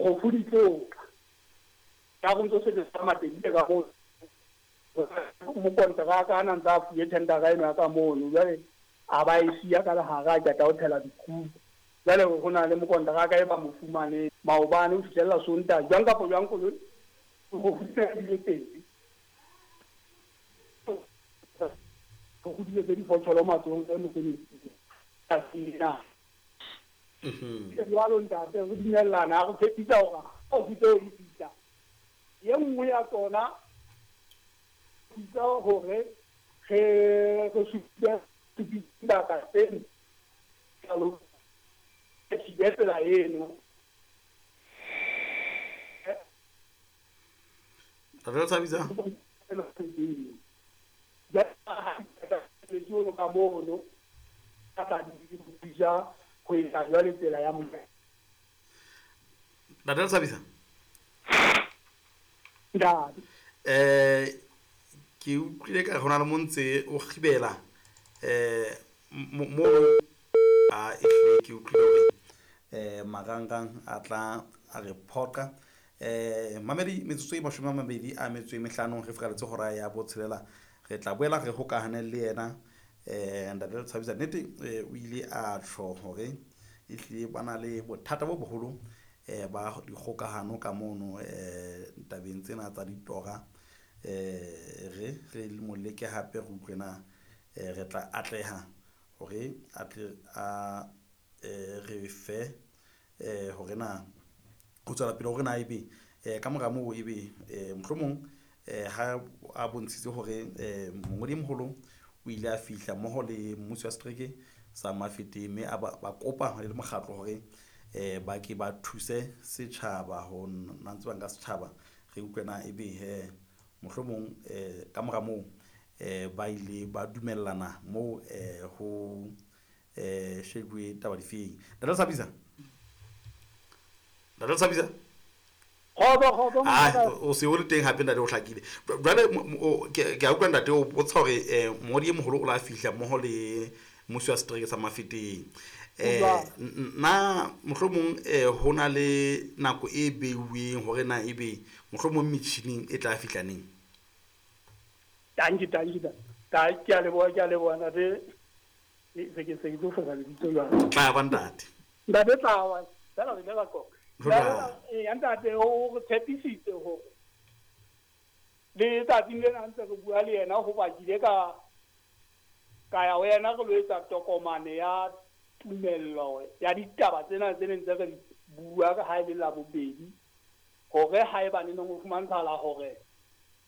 Dikgofu di tlo tla. Ka go ntso sebetsa matedile ka moo. Mokonteraka a na ntse a fuwe thendara eno ya ka mono. Jwale a ba e siya ka lehare a qeta ho thela dikhubu. Jwale ho na le mokonteraka e ba mo fumaneng maobane ho fihlella Sontaha. Jwang kapa jwang koloi dikgofu di se di le teng. Go godile tse di fotsholo matsohong e mosebetsi. Jwalo ntate re dumellana re tshepisa hore ha o tseo di fihla ye nngwe ya tsona thusa hore re re supe dibaka tse jalo thibe tsela eno. Re tshabisa ka mono ka tla di thusa ho etsa jwale tsela ya mo. Ntate Tshabisa. Ntate. Ke utlwile ka go na le mo ntse o gibela mo a ehlile ke utlwile hore marangrang a tla a re phoqa. Mamedi metsotso e 25 re fikaletse hora ya botshelela. Re tla boela re hokahane le yena ntate Tshabisa. Nnete o ile a tjho hore ehlile ba na le bothata bo boholo ba dikgokahano ka mono tabeng tsena tsa ditora. Re re mo leke hape re utlwe na re tla atleha hore a tle a re fe hore na ho tswela pele hore na ebe ka mora moo ebe mohlomong ha a bontshitse hore mongodi e moholo o ile a fihla mmoho le mmuso wa setereke sa Mafeteng mme a ba kopa le mokgatlo hore ba ke ba thuse setjhaba ho nna ntse ba nka setjhaba. Re utlwe na ebe he mohlomong ka mora moo ba ile ba dumellana moo ho shebuwe taba difeng. Ntate Tshabisa. Ntate Tshabisa. Kgotso o se o le teng hape ntate o hlakile. Jwale ke a utlwa ntate o botsa hore mongodi e moholo o la fihla mmoho le mmuso wa setereke sa Mafeteng. Na mohlomong ho na le nako e beuweng hore na ebe mohlomong metjhining e tla fihla neng? Tanki ke a leboha ntate. Se ke tlo fosa lebitso jwale. Tla ba ntate. Ntate tla wa. Fela re ile ra qoqa. Ya ntate o re tshepisitse hore le tsatsing lena ntse re bua le yena hoba ke ile ka ya ho yena re lo etsa tokomane ya tumello ya ditaba tsena tse neng tse re bua ha e le la bobedi hore haeba ne neng ho fumantshala hore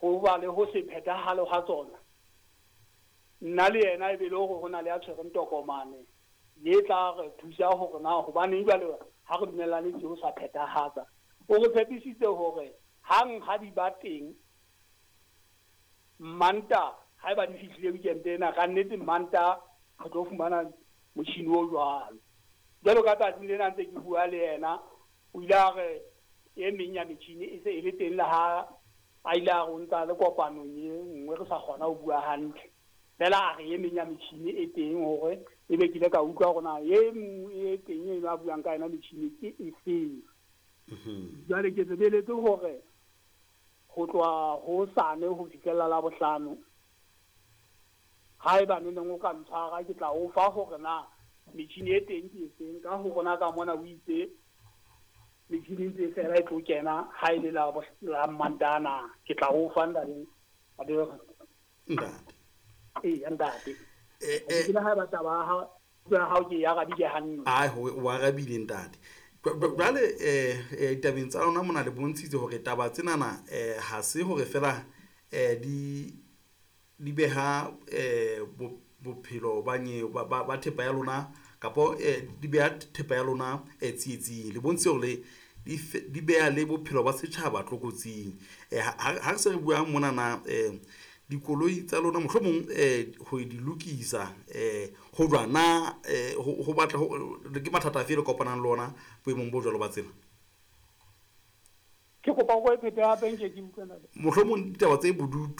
ho ba le ho se phethahalo ha tsona nna le yena e be le hore ho na le ya tshwereng tokomane ye tla re thusa hore na hobaneng jwale ha re dumellane tse o sa phethahatsa. O re tshepisitse hore hang ha di ba teng Manta haeba di fihlile weekend ena ka nnete Manta re tlo fumana motjhini o jwalo. Jwalo ka tsatsing lena ntse ke bua le yena o ile a re e meng ya metjhini e se e le teng le ha a ile a re o ntsa le kopanong e nngwe re sa kgona ho bua hantle. Fela a re e meng ya metjhini e teng hore ebe ke ile ka utlwa hore na e nngwe e teng eno a buang ka yona metjhini ke efeng. Jwale ke tsebeletse hore ho tloha hosane ho fihlella la bohlano haeba ne neng o ka ntshwara ke tla o fa hore na metjhini e teng ke efeng ka ho rona ka mona o itse metjhini ntse fela e tlo kena ha e le la Mantaha na ke tla o fa ntate. Ntate. Ee ntate. Ke le haeba taba ya hao ke e arabile hantle. Ai o arabile ntate. Jwale ditabeng tsa lona mona le bontshitse hore taba tsenana ha se hore fela di beha bophelo ba ba thepa ya lona kapo di beha thepa ya lona tsietsing. Le bontshitse hore di beha le bophelo ba setjhaba tlokotsing. Ha re se re buang monana dikoloi tsa lona mohlomong ho di lokisa ho jwang na ho batla ke mathata afe le kopanang le ona boemong bo jwalo ba tsela? Ke kopa o e phete hape nke ke utlwe ntate. Mohlomong ditaba tse bodutu